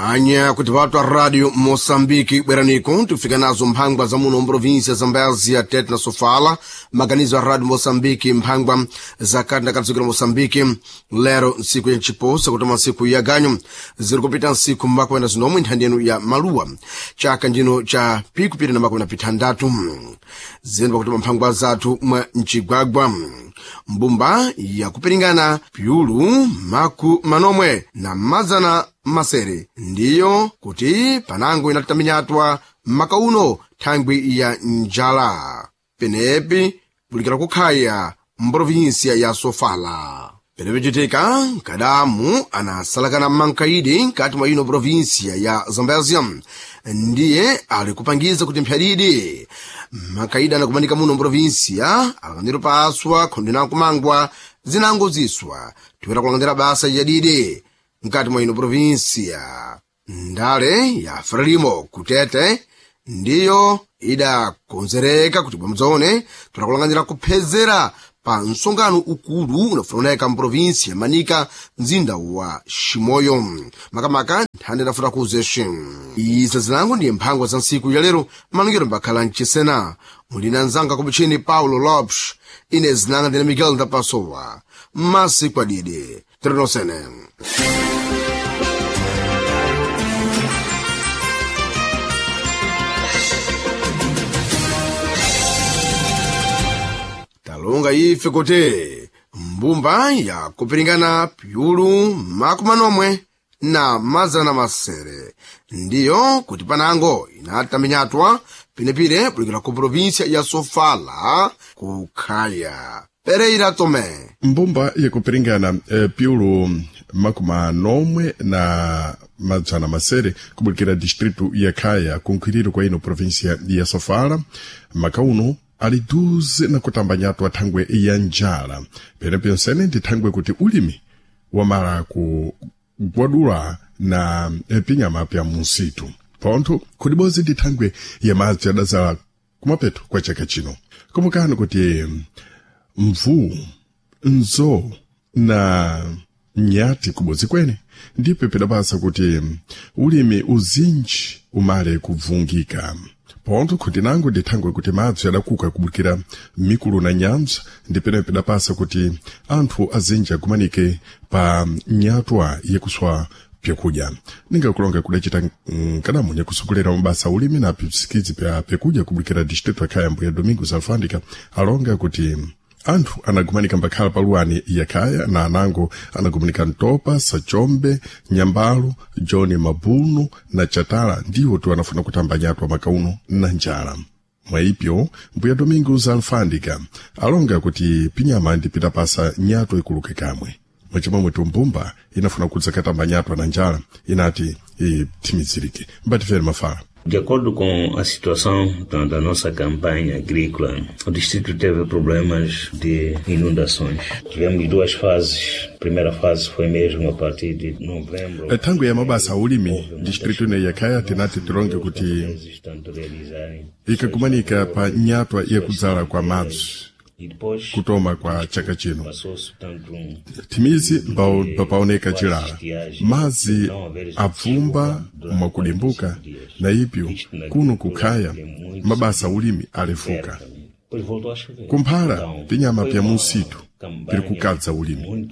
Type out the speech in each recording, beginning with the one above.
Anya kuti vatwa radio Moçambique bweraniko tikufika nazo mphangwa za muno mprovinsia Zambézia, Tete na Sofala. Maganizo a radio Moçambique mphangwa za kati na kati la Moçambique lero ntsiku ya ntchiposa kutoma ntsiku ya ganyo ziri kupita ntsiku mmakuwena zinomwe nthandi yenu ya maluwa chaka ndino cha pikupita na makuwena pithandatu zinu pakutoma mphangwa zathu mwa mcigwagwa mbumba yakupiringana pyulu maku manomwe na mazana masere ndiyo kuti panango inatitaminyatwa maka uno thangwi ya njala penepi bulikira kukhaya mprovinsia ya Sofala. Penepicitika nkadamu anasalakana mankaidi nkati mwa ino provinsia ya Zambézia ndiye ali kupangiza kuti mphyadidi makaidi anakumanika muno mprovinsia alanganiro paswa khondo nakumangwa zinango ziswa tiwera kulanganira basa yadidi nkati mwa ino provinsia. Ndale ya Frelimo kutete ndiyo idakonzereka kuti bwamudzaone tulakulanganira kuphezera pa msongano ukulu unafunaoneka mprovinsi ya Manika, mzinda wa Shimoyo, makamaka nthanda idafuta kuzexe. Iza zinango ndiye mphangwa za ntsiku ya lero malongero mbakhala mchisena mulina nzanga kupichini Paulo Lopes, ine zinanga ndine Miguel Ndapasowa masiku adidi tirenosene. Talonga ife kuti mbumba yakupiringana pyulu makumanomwe na mazana masere ndiyo kuti panango inataminyatwa pinepire bulikira ku provinsia ya Sofala kukhaya Pereira Tomé. Mbumba yakupiringana pyulu makumanomwe na madzana masere kubulikira distritu ya Khaya kunkhwiriro kwa ino provinsia ya Sofala makauno ali duze na kutambanyatwa thangwe ya njala penepensene ndi thangwe kuti ulimi wamala kugwadula na pinyama pya munsitu pontho khudibozi ndi thangwe ya madzi adazala kumapeto kwa chaka chino. Kumbukani kuti mvuu nzo na nyati kubodzi kwene ndipo pidapasa kuti ulimi uzinji umale kubvungika pontho khuti nango ndi thangwe kuti madzi adakuka kubukira mikulu na nyanja ndi pene pidapasa kuti anthu azinji agumanike pa nyatwa yakuswa pyakudya. Ningakulonga kudacita nkadamu nyakusogolera mabasa ulimi na pisikizi pya pyakudya kubukira distritu ya Khaya mbuya Domingos Alfandika alonga kuti anthu anagumanika mbakhala paluwani ya Khaya na anango anagumanika Ntopa, Sachombe, Nyambalo, John Mabunu na Chatala ndiwo tu anafuna kutamba nyatwa makauno na njala. Mwaipyo mbuya Domingos Alfandika alonga kuti pinyama ndipita pasa nyatwa ikuluke kamwe mwachimwemwe tumbumba inafuna kudzakatamba nyatwa na njala inati ithimizirike mbatifere mafala. De acordo com a situação da nossa campanha agrícola, o distrito teve problemas de inundações. Tivemos duas fases. A primeira fase foi mesmo a partir de novembro. Thangwe ya mabasa ulimi distritu ine ya Khaya tinati tilonge kuti ikakumanika pa nyatwa yakudzala kwa madzi kutoma kwa chaka chino thimizi mbapaoneka chilala madzi abvumba mwakudimbuka na ipyo kuno kukhaya mabasa ulimi alefuka kumphala pinyama pya munsitu pili kukadza ulimi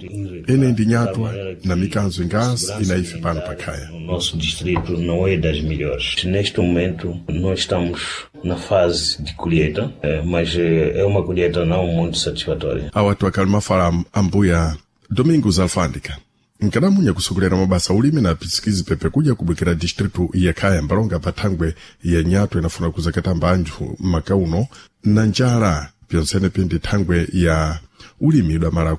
ene ndi nyatwa na mikanzo ingasi inaife pano pakhaya. O nosso distrito não é das melhores. Neste momento nós estamos na fase de colheita, mas é uma colheita não muito satisfatória. Awatu akali mafala ambuya Domingos Alfandika nkadamunya kusogolera mabasa ulimi na pisikizi pepe kuja kubwekera distritu ya Khaya mbalonga pathangwe ya nyatwa inafuna kuzakatamba anthu makauno na njala pyonsene pindi thangwe ya ulimi idamala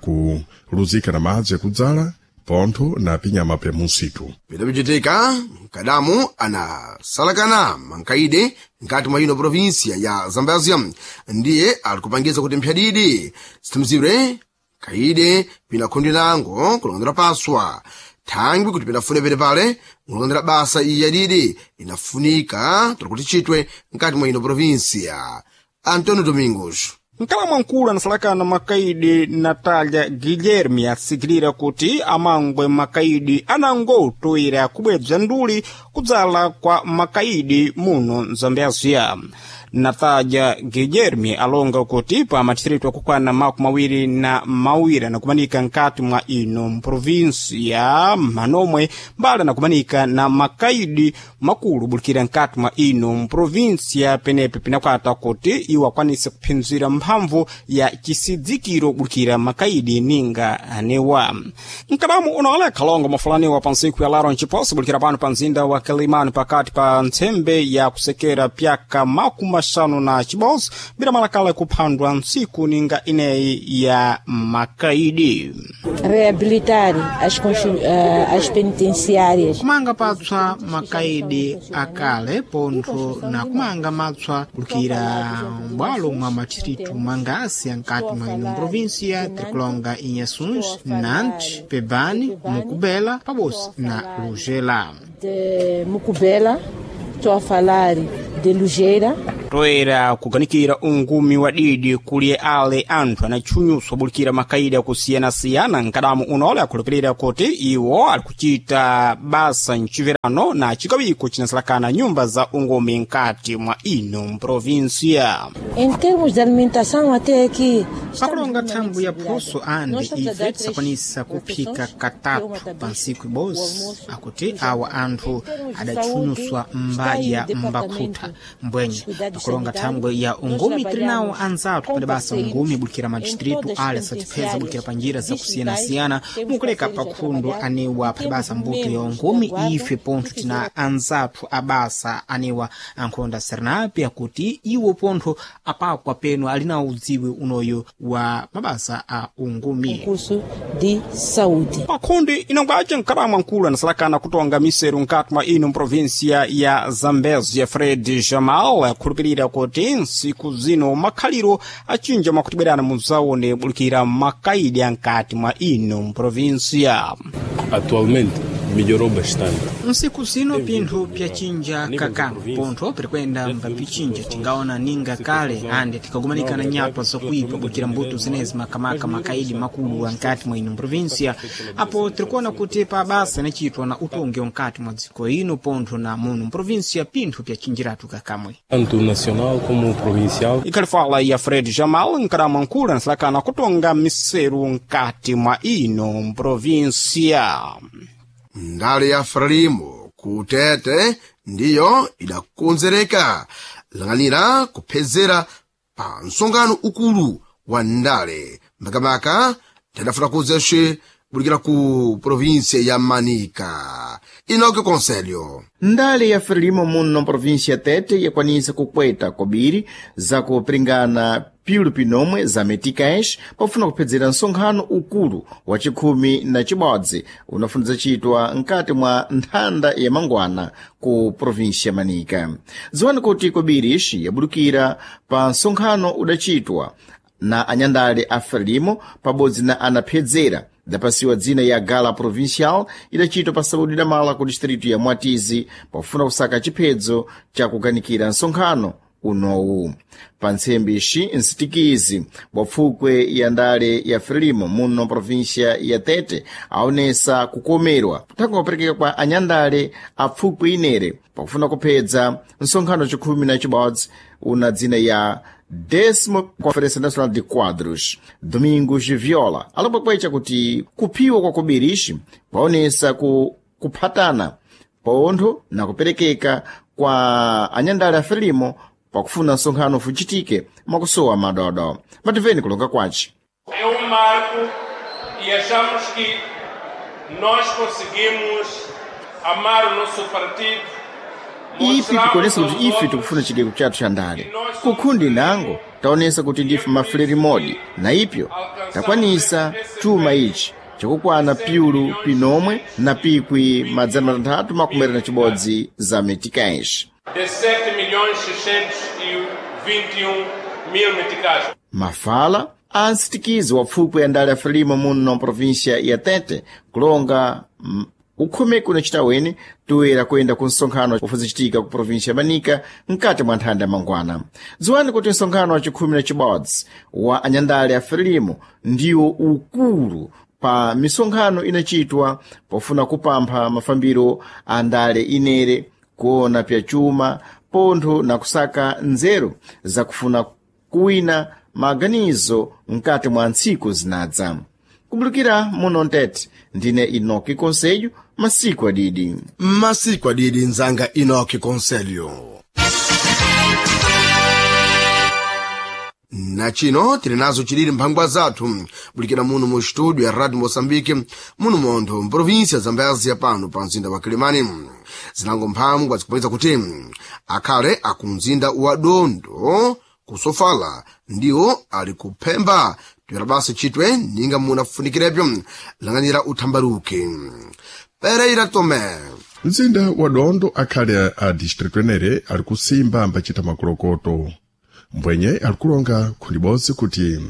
kuluzika na madzi yakudzala pontho na pinyama pya munsitu. Pidapichitika nkadamu anasalakana mankaide nkati mwa ino provinsia ya Zambézia ndiye alikupangiza kuti mphyadidi zithimizidwe kaide pinakhundi nango kulongondera paswa thangwi kuti pinafune pene pale kulongondera basa iyi yadidi inafunika tuli kuti chitwe nkati mwa ino provinsia. Antonio Domingos. Nkalamu nkulu anasalakana makaidi Natalia Guilherme asikilira kuti amangwe makaidi anangotoera kubwebza nduli kudzala kwa makaidi muno mzambezia. Natalia Guilherme alonga kuti pa madistritu akukwana 22 anakumanika nkati mwa ino mprovinsia manomwe mbali anakumanika na makaidi makulu bulikira nkati mwa ino mprovinsia penepe pinakwata kuti iwo akwanise kuphinzira mphamvu ya chisidzikiro bulikira makaidi ninga anewa. Nkadamu unaole kalongo mafulaniwa pa ntsiku ya laro nciposi bulikira pano pa mzinda wa Kilimani pakati pa ntsembe ya kusekera pyaka 51 bila malakala kuphandwa ntsiku ninga ineyi ya makaidi. Reabilitar as penitenciárias. Kumanga patswa makaidi akale pontho na kumanga matswa kulikira m'bwalo mwa madistritu mangasi ankati mwa ino província tirikulonga Inhassuns, Nantes, Pebane, Mocubela pabodzi na Lugela. De Mocubela, estou a falar de Lugeira. Toera kuganikira ungumi wa didi kuli ale anthu anatchunyutswa bulikira makaidi akusiyana-siyana nkadamu unole akhulupirira kuti iwo ali kuchita basa mchiverano na chikawiko chinasalakana nyumba za ungumi nkati mwa ino mprovinsia. Em termos de alimentação até aqui pakulonga thangwi ya phoso ande ife tisakwanisa kuphika katatu pa ntsiku ibodzi akuti awa anthu adatchunyuswa mbadya mbakhutha mbwenye. Pakulonga thangwi ya ungumi tili nawo anzathu pali basa ungumi bulikira madistritu ale satipeza bulikira pa njira zakusiyanasiyana mukuleka pakhundo anewa pali basa mbuto ya ungumi ife pontho tina anzathu abasa anewa ankhonda serenapi akuti iwo pontho apakwa peno ali nawo udziwi unoyo wa mabasa a ungumi. Curso de saúde. Pakhundi inangwace mkalamu ankulu anasalakana kutonga miseru nkati mwa ino mprovinsia ya Zambezia Fred Jamal akhulupirira kuti ntsiku zino makhaliro achinja mwakutibwerana mudzaone bulikira makaidi ankati mwa ino mprovinsia. Atualmente melhorou bastante. Nsiku zino pinthu pyachinja kakamwe pontho pirikwenda mbapichinja tingaona ninga kale ande tikagumanikana nyatwa zokuipa bukira mbuto zinezi makamaka makaidi makulu ankati mwa ino provinsia apo tirikuona kuti pa basa inachitwa na utongi wankati mwa dziko ino pontho na muno mprovinsia pinthu pyachinjiratu kakamwe. Tanto nacional como provincial. Ikhalifala ya Fred Jamal nkalamu ankulu anasalakana kutonga miseru nkati mwa ino mprovinsia. Ndale ya Frelimo kutete ndiyo idakonzereka lang'anira kuphezera pa msonkhano ukulu wa ndale makamaka tadafuna kuzexe bulikira ku província ya Manica. Inoke Conselho. Ndale ya Frelimo muno província Tete yakwanisa kukweta kobiri zakupiringana piulu pinomwe za meticais pofuna kuphedzera nsonkhano ukulu wa chikhumi na chibodzi unafuna chitwa nkati mwa nthanda ya mangwana ku província ya Manica. Dziwani kuti kobiri ixi yabudukira pa nsonkhano udachitwa na anyandale a Frelimo pabodzi na anaphedzera idapasiwa dzina ya Gala Provincial idachitwa pa saúde da mala ku distrito ya Mwatizi pofuna kusaka chiphedzo cha kuganikira nsonkhano unowu. Pa ntsembe ixi nsitikizi wa pfukwe ya ndale ya Frelimo muno província ya Tete aonesa kukomerwa thangwi kuperekeka kwa anyandale a pfukwe inere pakufuna kuphedza nsonkhano chikhumi na chibodzi una dzina ya décimo Conferência Nacional de Quadros, Domingos Viola, alopwekwecha kuti kuphiwa kwa kobiri kwaonesa ku kuphatana pontho na kuperekeka kwa anyandale a Frelimo pakufuna nsonkhano fuchitike mwakusowa madodo. Mativeni kulonga kwace. É marco e achamos que nós conseguimos amar o nosso partido. Ipi tikuonesa kuti ife tikufuna chigeko chathu cha ndale kukhundi nango taonesa kuti ndife mafuleri modi na ipyo takwanisa chuma ichi chakukwana piulu pinomwe na pikwi 661 za meticais. De 7 milhões 621 mil meticais. Mafala a nsitikizi wa pfukwe ya ndale ya Frelimo muno província ya Tete kulonga Ukhomeko unachita weni toera kuyenda ku msonkhano ufuzichitika ku província ya Manica mkati mwa nthanda ya mangwana. Dziwani kuti msonkhano wa chikhumi na chibodzi wa anyandale a Frelimo ndiwo ukulu pa misonkhano inachitwa pofuna kupampha mafambiro a ndale inere, kuona pyachuma pontho na kusaka nzeru zakufuna kuwina maganizo mkati mwa ntsiku zinadza. Kubulukira muno Ntete, ndine Inoki Conselho, masiku adidi. Masiku adidi nzanga Inoki Conselho. Na chino tili nazo chilili mphangwa zathu bulikira muno mu studio ya Radio Moçambique, muno montho mprovinsia Zambezia, pano pa mzinda wa Kilimani. Zinango mphangwa zikupangitsa kuti akhale akumzinda wa Dondo kusofala ndiwo ali kuphemba tuyera basi chitwe ninga munafunikirebyo lang'anira uthambaruke. Pereira Tomé. Mzinda wa Dondo akhale a distritu enere ali kusimba ambachita makolokoto, mbwenye alikulonga khundibodzi kuti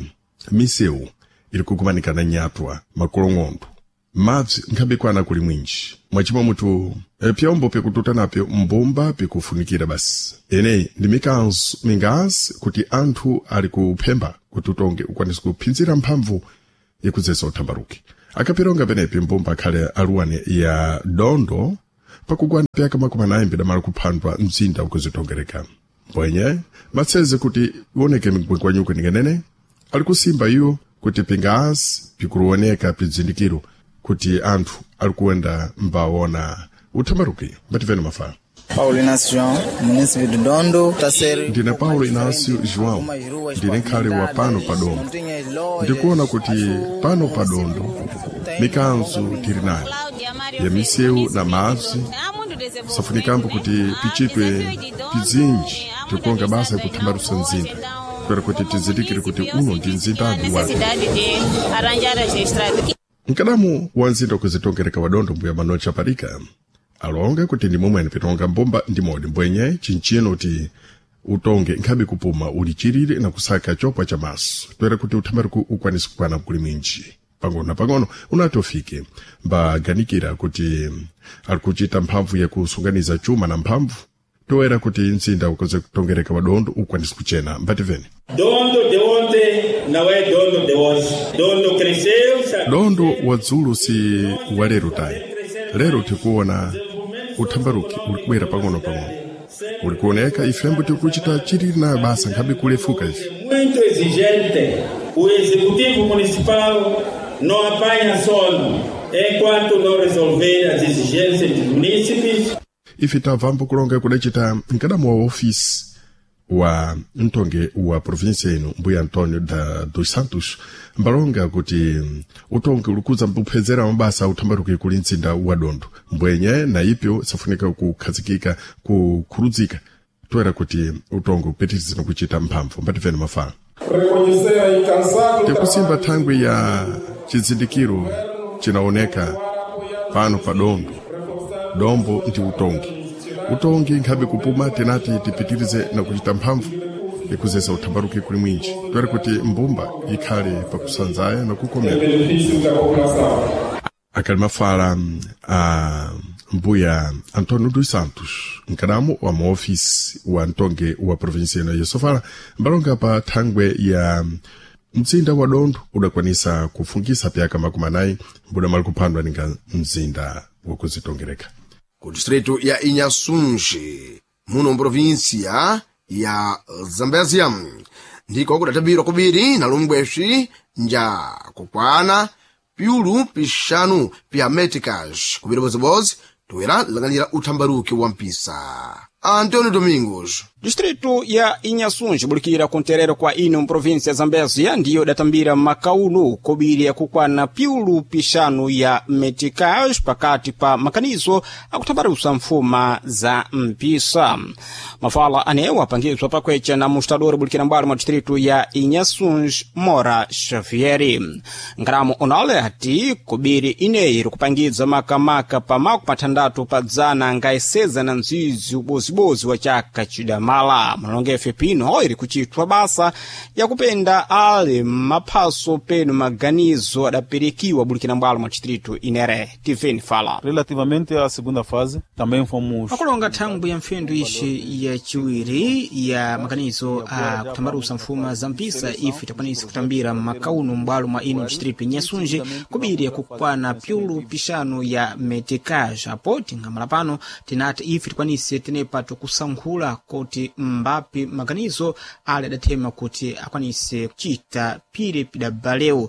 misewu ili kukumanikana nyatwa makolong'ondo, mabzi nkhabikwana kuli mwinji mwachimwa mutu pyombo pikututa napyo mbumba pikufunikira basi. Eneyi ndi mikanzo mingazi kuti anthu ali kuphemba kuti utonge ukwanise kuphinzira mphamvu ikudzesa uthambaruki. Akapironga penepi mbumba akhale aluwane ya Dondo pakugwana pyaka 40 bidamala kuphandwa mzinda ukuzitongereka, mbwenye matseze kuti ioneke migwengwanyuko ningenene ali kusimba iwo kuti pingazi pikuruoneka pizindikiro kuti anthu ali kuenda mbaona uthambaruki. Mbativene mafala. Paulo Inácio João, munícipe de Dondo, tá ser Ndine Paulo Inácio João, ndine nkhale wa pano pa Dondo. Ndikuona kuti pano pa Dondo mikanzo tili nayo ya misewu na madzi, safunikambo kuti pichitwe pizinji tikuonga basa yakuthambarusa mzinda kwera kuti tizindikire kuti uno ndi mzindadi wake. Mkadamu wa mzinda ukuzitongereka wa Dondo, mbuya Manocha Parika, alonga kuti ndi momwe pitonga mbumba ndi modi, mbwenye chinchino kuti utonge nkhabe kupuma ulichirire na kusaka chopwa cha maso toera kuti uthambaruku ukwanise kukwana kuli mwinji pang'ono na pang'ono unati ufike. Mbaganikira kuti ali kuchita mphamvu yakusunganiza chuma na mphamvu toera kuti mzinda ukoze kutongereka wa Dondo ukwanise kuchena. Mbativene. Dondo de ontem não é dono de hoje. Dondo cresceu, está Dondo wa dzulu si wa lero tayi. Lero tikuona uthambaruki uli kubwera pang'ono pang'ono, uli kuoneka ifembo tikuchita chilili nayo basa nkhabe kulefuka ife. Muito exigente. O executivo municipal não apanha sono enquanto não resolver as exigências dos munícipes. Ife tamvambo kulonga kudacita mkadamu wa ofisi wa mtonge wa província ino, mbuya António da dos Santos, mbalonga kuti utonge ulikuza mbuphezera mabasa uthambaruki kuli mzinda wa Dondo, mbwenye na ipyo safunika kukhazikika kukhurudzika toera kuti utonge upitirize kuchita mphamvu. Mbativene mafala. Reconhecer a incansável Tikusimba thangwi ya chizindikiro chinaoneka pano pa Dondo, dombo ndi utongi. Utongi nkhabe kupuma tinati tipitirize na kuchita mphamvu ikuzesa uthambaruki kuli mwinji toera kuti mbumba ikhale pakusanzaya na kukomera. Benefício da população. Akali mafala a mbuya António dos Santos, mkadamu wa maofisi wa mtonge wa província ino ya Sofala, mbalonga pa thangwe ya mzinda wa Dondo udakwanisa kufungisa pyaka 40 mbudamali kuphandwa ninga mzinda wakuzitongereka. Ku distrito ya Inhasunge, muno mprovinsia ya Zambezia, ndiko kudatabirwa kubiri na lumbwexi nja kukwana piulu pixanu pya meticas kubiri bozibozi toera lang'anira uthambaruki wa mpisa. Antônio Domingos. Distrito ya Inhasunge bulikira kunterero kwa ino mprovinsia ya Zambezia ndiyo datambira makauno kobiri yakukwana piulu pixanu ya meticais pakati pa makanizo akuthambarusa mfuma za mpisa. Mafala anewo apangizwa pakwecha na mustadori bulikira mbwalo mwa distrito ya Inhasunge, Mora Xavieri. Nkramo onale ati kobiri ineyi iri kupangidza makamaka pa 60 pa dzana angaiseza na nzizi ubozibozi wa chaka chidamala. cidamala. Munalongefe pino iri kuchitwa basa yakupenda ali maphaso penu maganizo adapirikiwa bulikira mbwalo mwa distrito inere. Tiveni fala. Relativamente à segunda fase, também fomos Akulonga thangwi ya mpfendu ixi ya ciwiri ya maganizo a kutambarusa mfuma za mpisa, ife takwanisa kutambira makauno m'bwalo mwa ino distrito Inhasunge kubiri yakukwana pyulu pixanu ya meticage. Apo tingamala pano tinati ife tikwanise tenepa tikusankhula kuti mbapi maganizo ali adathema kuti akwanise kucita pire pidabalewu.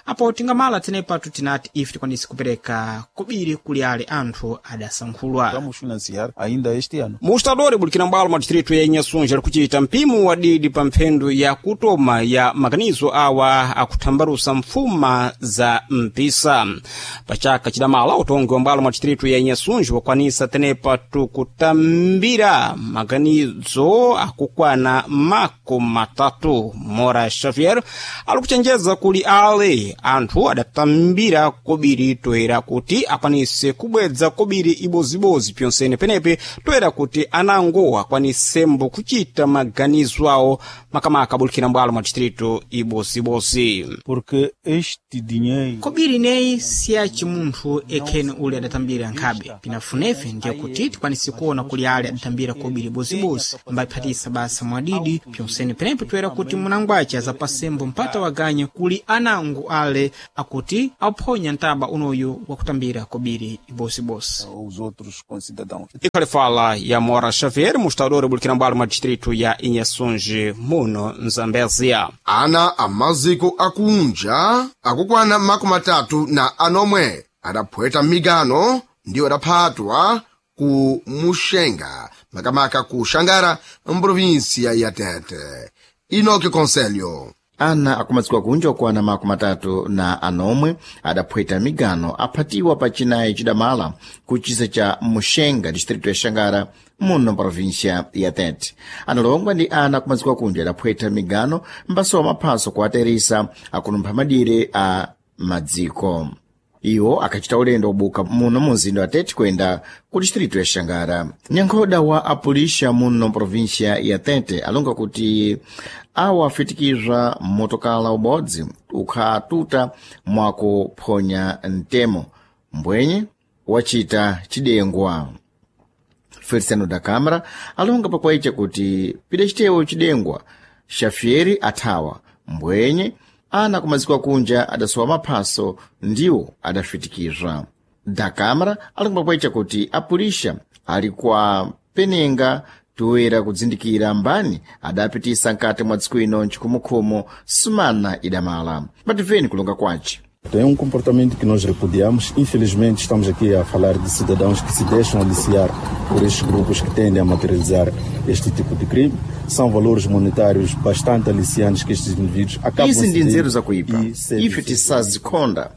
Apo tingamala tenepatu tinati ife tikwanise kupereka kubiri kuli ale anthu adasankhulwa. Vamos financiar ainda este ano. Mustadori bulikira mbwalo mwa distrito ya Inhasunge ali kuchita mpimo wa didi pa mphendu ya kutoma ya maganizo awa akuthambarusa mfuma za mpisa. Pachaka cidamala utongi wa mbwalo mwa distrito ya Inhasunge wakwanisa tenepa tukutambira maganizo akukwana 30. Mora Xavier ali kuchenjeza kuli ale anthu adatambira kobiri toera kuti akwanise kubwedza kobiri ibozibozi pyonsene penepe toera kuti anango akwanisembo kuchita maganizo awo makamaka abulikira mbwalo mwa distrito ibozibozi. Porque este dinheiro Kobiri ineyi siyaci munthu ekhene uli adatambira nkhabe. Pinafunefe ndiye kuti tikwanise kuona kuli ale adatambira kobiri bozibozi mbaphatisa basa mwadidi pyonsene penepe toera kuti munangwace azapasembo mpata waganya kuli anango ale akuti aphonya ntaba unoyu wakutambira kobiri ibozibozi. Aos outros concidadãos. Ikhali fala ya Mora Xavier, mustadori bulikira mbwalo mwa distrito ya Inhasunge muno Mzambezia. Ana amaziko akunja akukwana 36 adaphweta migano ndiwo adaphatwa ku Muxenga, makamaka ku Xangara, mprovinsia ya Tete. Inoki Conselho. Ana akumadziko kunja okwana 36 adaphweta migano aphatiwa pa Chinayi chidamala ku chisa cha Muxenga, distrito ya Xangara, muno província ya Tete. Analongwa ndi ana akumadziko akunja adaphweta migano mbasowa maphaso kuateresa akunumpha madire a madziko. Iwo akachita ulendo obuka muno mu mzinda wa Tete kuyenda ku distrito ya Xangara. Nyankhoda wa apulisha muno província ya Tete alonga kuti awa afitikizwa motokala ubodzi ukhatuta mwakuphonya mtemo mbwenye wachita chidengwa. Feliciano da Câmara alonga pakwaicha kuti pidacitewo chidengwa Xavier athawa mbwenye ana kumaziko akunja adasowa maphaso ndiwo adafitikizwa. Da Câmara alonga pakwaicha kuti apulisha ali kwa penenga toera kudzindikira mbani adapitisa nkati mwa dziko ino nchikhumukhumu sumana idamala. Pativeni kulonga kwace. É comportamento que nós repudiamos. Infelizmente, estamos aqui a falar de cidadãos que se deixam aliciar por estes grupos que tendem a materializar este tipo de crime. São valores monetários bastante aliciantes que estes indivíduos acabam Izi ndi nzeru zakuipa, ife tisazikhonda.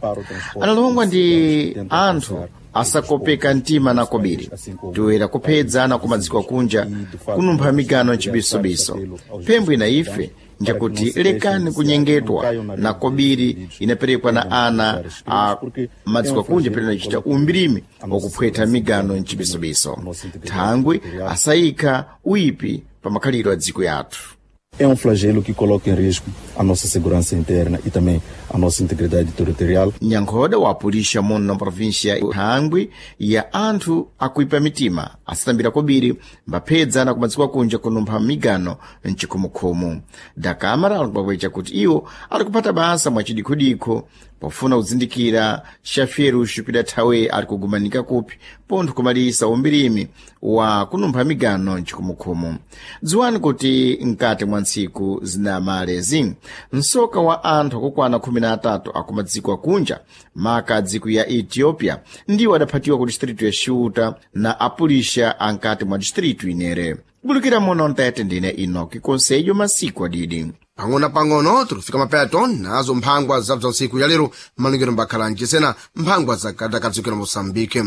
Analongwa ndi anthu asakopeka mtima na kobiri toera kuphedza kumadziko akunja kunumpha migano mchibisobiso. Phembwe na ife njakuti lekani kunyengetwa na kobiri inaperekwa na ana a madziko akunja pene nachita umbirimi wakuphwetha migano mchibisobiso. Thangwi asayikha uyipi pa makhalidwe a dziko yathu. É flagelo que coloca em risco a nossa segurança interna e também a nossa integridade territorial. Nyankhoda wapulisha muno província thangwi ya anthu akuipa mitima asatambira kobiri mbaphedza na kumadziko akunja kunumpha migano mchikhumukhumu. Da Câmara alikupakuicha kuti iwo ali kuphata basa mwa chidikhudikho pofuna kuzindikira Xavier pidathawe ali kugumanika kupi pontho kumalisa umbirimi wa kunumpha migano mchikhumukhumu. Dziwani kuti mkati mwa ntsiku zinamalezi msoka wa anthu akukwana 13 akumadziko akunja maka adziko ya Ethiopia ndiwo adaphatiwa ku distrito ya Xiuta na apulisha ankati mwa distrito inere. Kubulukira muno Mtete, ndine Inoki Konselho masiku adidi. Pang'ono-pang'ono tikufika mapeto nazo mphangwa za bza usiku ya lero malingiro mbakhala mchisena mphangwa za katakadzikira Moçambique.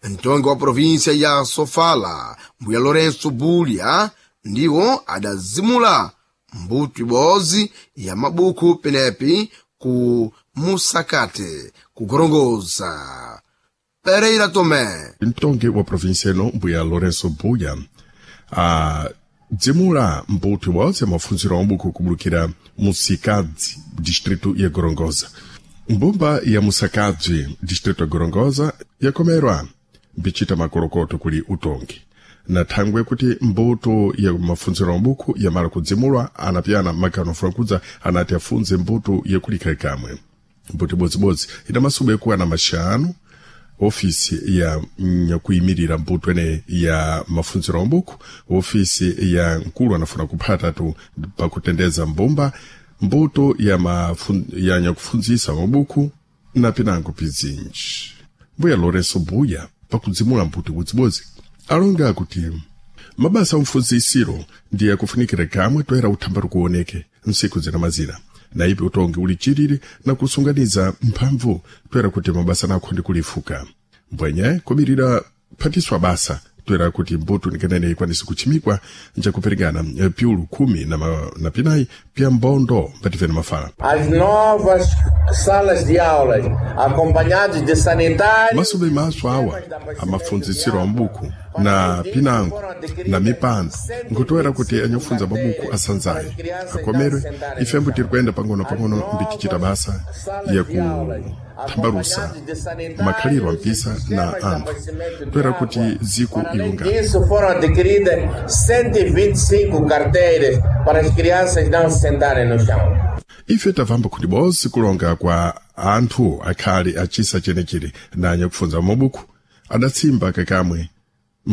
Mtongi wa província ya Sofala, mbuya Lourenço Bulha, ndiwo adazimula mbuto ibodzi ya mabuku penepi ku Musakate, kugorongoza. Pereira Tomé. Mtongi wa província ino mbuya Lourenço Buya. Kudzimula mbuto ibodzi ya mafunziro a mabuku kubulukira Musikadzi, distrito ya Gorongosa. Mbumba ya Musakadzi, distrito ya Gorongosa, yakomerwa mbichita makolokoto kuli utongi na thangwe kuti mbuto ya mafunziro a mabuku yamala kudzimulwa anapyana magano afuna anati afunze mbuto yakulika kamwe mbuto ibodzibodzi ina masubu ekuwana maxanu ofisi ya nyakuyimirira mbuto ene ya mafunziro a mabuku ofisi ya nkulu anafuna kuphatatu pakutendeza mbumba mbuto ya, ya nyakufunzisa mabuku na pinango pizinji. Mbuya Lourenço Buya pakudzimula mbuto ibodzibodzi alonga kuti mabasa amfunzisiro ndiye akufunikira kamwe toera uthambari kuoneke nsiku zina mazina na ipi utongi uli chiriri na kusunganiza mphamvu toera kuti mabasa nakho ndi kulifuka mbwenye kubirira phatiswa basa toera kuti mbuto nikanene ikwanise kuchimikwa njakuperekana piulu khumi na pinayi pya mbondo mbativene mafala. As novas salas de aulas, acompanhados de sanitários. Masube maso awa amafunzisiro a mabuku na pinango na mipando nkutoera kuti anyakufunza mabuku asanzaye akomerwe ifembo tiri kuyenda pang'ono-pang'ono mbitichita basa ya kuthambalusa makhaliro ampisa na anthu toera kuti ziku ilungana. Disso foram adquiridas 125 carteiras para as crianças não se sentarem no chão. Ife tavamba kuti bonse kulonga kwa anthu akhale achisa chenechere na anyakufunza mabuku adatsimba kakamwe.